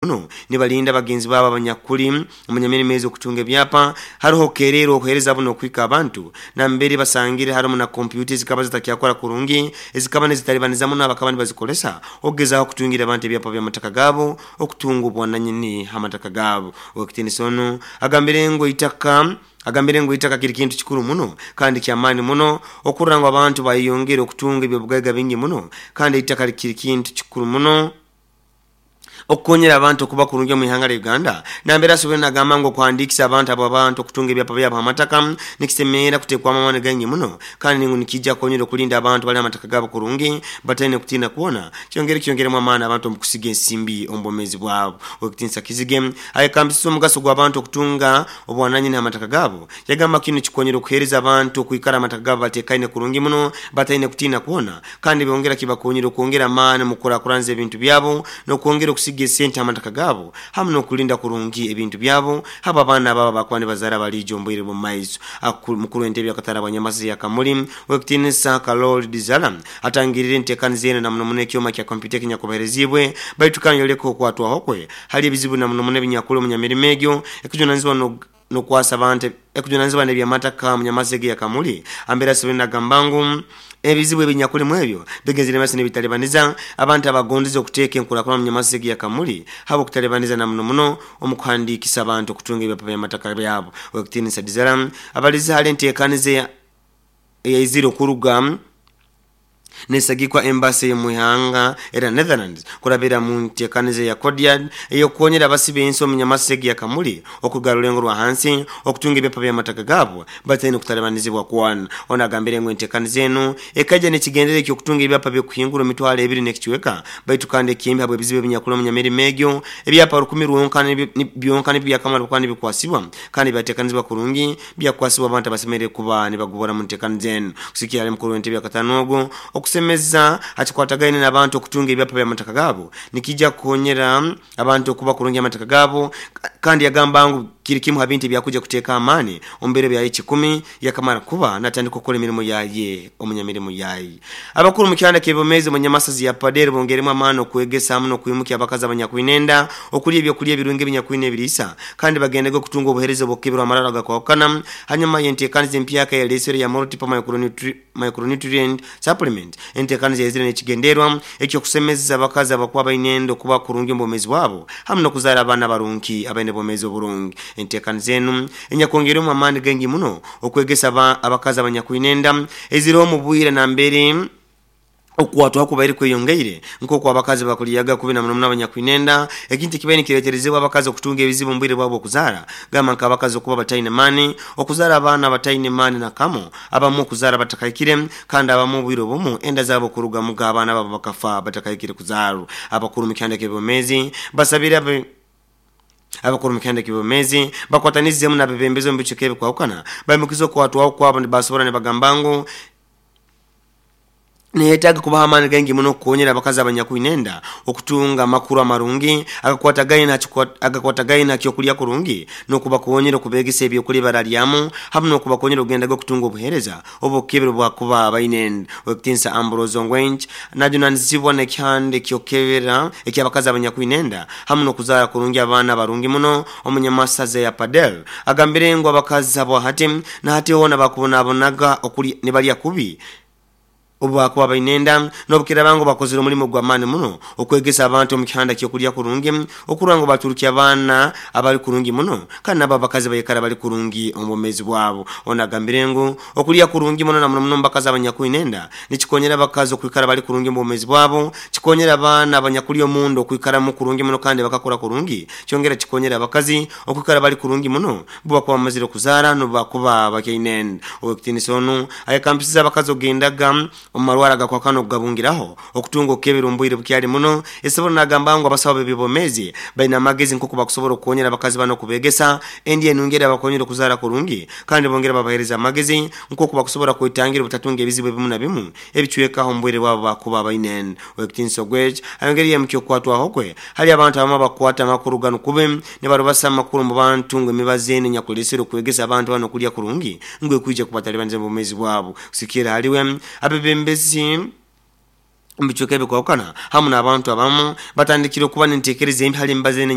Muno nibalinda bagenzi babo abanyakuli omunyamirimo ezi okutunga ebyapa. Haroho kerero okuhereza buno okuhika abantu nambere basangire harumu na kompyuta ezikaba zitakyakora kurungi, ezikaba nizitalibaniza muno abakaba nibazikozesa okugezaho okutungira abantu ebyapa by'amataka gaabo, okutunga obwananyini ha mataka gaabo. Owekitinisa onu agambire ngu eitaka agambire ngu eitaka kiri kintu kikuru muno kandi ky'amaani muno okurora ngu abantu bayeyongera okutunga ebyobugaiga bingi muno, kandi eitaka kiri kintu kikuru muno okukonyera abantu okuba kurungi omu ihanga lya Uganda. Nambere asoboire nagamba ngu okuhandiikisa abantu abo abantu okutunga ebyapa byabo ha mataka nikisemerra kutekwamu amaani gaingi muno, kandi ngu nikija kukonyera okulinda abantu bali amataka gaabo kurungi bataine kutiina kwona, kyongere kyongeremu amaani abantu omu kusiga ensimbi omu bwomeezi bwabo. Owekitinisa Kizige ayekambisize omugaso gw'abantu okutunga obwananyini ha mataka gaabo, yagamba kinu nikikonyera okuheereza abantu okwikara amataka gaabo batekaine kurungi muno bataine kutiina kwona, kandi byongera kibakonyera okwongera amaani omu kukurakuranza ebintu byabo n'okwongera okusiga esente ha mataka gaabo hamu n'okulinda kurungi ebintu byabo habo abaana babo abakuba nibazaara baliija omu bwire bw'omu maiso. Mukuru w'entebe y'akatale abanyamasizi ya Kamuli, Owekitinisa Kalori Dizala atangirire entekaniza enu na muno muno ekyoma kya kompyuta ekinyakubahereziibwe, baitu kandi yoleka okwatwaho kwe hali ebizibu na muno muno ebinyakuli omunyamirimo egyo ekujunanizibwa n'okwasa abantu ekujunanizibwa n'ebyamataka omunyamasizi egi ya Kamuli. Ambere asoboire nagamba ngu ebizibu ebinyakulimu ebyo bigenzere maiso nibitalibaniza abantu abagondeze okuteeka enkurakurana omunyamasizi egi ya Kamuli habw'okutalibaniza na muno muno omu kuhandiikisa abantu okutunga ebyapa by'amataka byabo. Owekitinisa Dizara abalize hali entekaniza eyaizire okuruga nesagikwa embasi ey'omu ihanga erya Netherlands kurabira mu ntekaniza eya Codiad ey'okukonyera abasi b'ensi omu nyamasisi egi ya Kamuli okuruga rulengo rwa hansi okutunga ebyapa by'amataka gaabo bataine kutalibanizibwa kwona. Ono agambire ngu entekaniza enu ekaija n'ekigendererwa eky'okutunga ebyapa by'okuhingura emitwaro ebiri n'ekicweka, baitu kandi ekimbi habw'ebizibu ebinyakuli omu nyamirimo egyo, ebyapa 1000 rwonka byonka nibyo byakamara kuba nibikwasibwa kandi byatekanizibwa kurungi byakwasibwa abantu abasemerire kuba nibagobora mu ntekaniza enu. Kusikira hali mukuru w'entebe yakatano ogu, okusemeza hakikwatagaine n'abantu okutunga ebyapa by'amataka gaabo nikija kukonyera abantu okuba kurungi amataka gaabo, kandi yagamba ngu kiri kimu ha bintu ebyakuja kuteeka amaani omu biro byaye 10 yakamara kuba natandika okukora emirimo yaye omunyamirimo yaye. Abakuru omu kyanda ky'ebyomeezi omu nyamasazi ya Pader bongeremu amaani okwegesa hamu n'okwimukya abakazi abanyakwine enda okulya ebyokulya ebirungi ebinyakwine ebiriisa, kandi bagendege okutunga obuheereza obw'okukeberwa amararo agakwahukana hanyuma y'enteekaniza empyaka eyalesere ya Multiple Micronutrient Supplement. Enteekaniza yaizire n'ekigenderwa eky'okusemeza abakazi abakuba baine enda okuba kurungi omu bwomeezi bwabo hamu n'okuzaara abaana abarungi abaine obwomeezi oburungi. Enteekaniza enu enyakwongeirwemu amaani gaingi muno okwegesa abakazi abanyakwine enda eizireho omu bwire nambere okukwatwaho kubaire kweyongeire nk'oku abakazi bakulyaga kubi na muno muno abanyakwine enda, ekintu ekibaire nikireeterezebwa abakazi okutunga ebizibu omu bwire bwabo bw'okuzaara, gamba nk'abakazi okuba bataine maani, okuzaara abaana abataine maani na kamu, abamu okuzaara batakahikire, kandi abamu obwire obumu enda zaabo okurugamuga abaana baabo bakafa batakahikire kuzaarwa. Abakuru omu kihanda ky'ebyomeezi basabire Abakuru omu kihanda ky'obwomeezi bakwatanizemu n'abebembezi omu bicweka ebikwahukana baimukize okwatwaho kwabo nibasobora nibagamba ngu neyetaaga kubaha amaani gaingi muno okukonyera abakazi abanyakwine enda okutunga amakuru amarungi agakwatagaine ha kyokulya kurungi n'okubakonyera okubegesa ebyokulya ebibaralyamu hamu n'okubakonyera okugendaga okutunga obuheereza obw'okukebera obubakuba baine enda. Owekitinisa Ambrose Ongwench najunanizibwa n'ekihanda eky'okukebera eky'abakazi abanyakwine enda hamu n'okuzaara kurungi abaana abarungi muno omunyamasaza ya Padel agambire ngu abakazi abo hati na hati hoona bakubonabonaga okulya nibalya kubi obu bakuba baine enda, n'obukiraaba ngu bakozere omulimo gw'amaani muno okwegesa abantu omu kihanda ky'okulya kurungi okurora ngu baturukya abaana abali kurungi muno kandi nabo abakazi baikara bali kurungi omu bwomeezi bwabo. Ono agambire ngu okulya kurungi muno na muno muno omu bakazi abanyakwine enda nikikonyera abakazi okwikara bali kurungi omu bwomeezi bwabo, kikonyera abaana abanyakuli omunda okwikaramu kurungi muno kandi bakakura kurungi, kyongera kikonyera abakazi okwikara bali kurungi muno obu bakuba bamazire okuzaara n'obu bakuba bakyaine enda. Ow'ekitiinisa onu ayekambisize abakazi okugendaga omu marwaro agakwahukana okugabungiraho okutunga okukebera omu bwire bukyali muno. Esobora nagamba ngu abasaho b'ebyobwomeezi baine amagezi nk'oku bakusobora okukonyera abakazi banu okubegesa endya enungi erabakonyera okuzaara kurungi, kandi bongera babahereza amagezi nk'oku bakusobora kwetangira obutatunga ebizibu ebimu na bimu ebicwekaho omu bwire bwabo bakuba baine enda. Ow'ekitiinisa Ogwech ayongera yamukya okukwatwaho kwe hali abantu abamu abakukwata amakuru ganu kubi nibarubasa amakuru omu bantu ngu emibazi enu enyakulesere okwegesa abantu banu okulya kurungi ngu ekwija kubatalibaniza omu bwomeezi bwabo. Kusigikirra hali we, abebembezi omu bicweka ebikwahukana hamu n'abantu abamu batandikire okuba n'entekereza embi hali emibazi enu.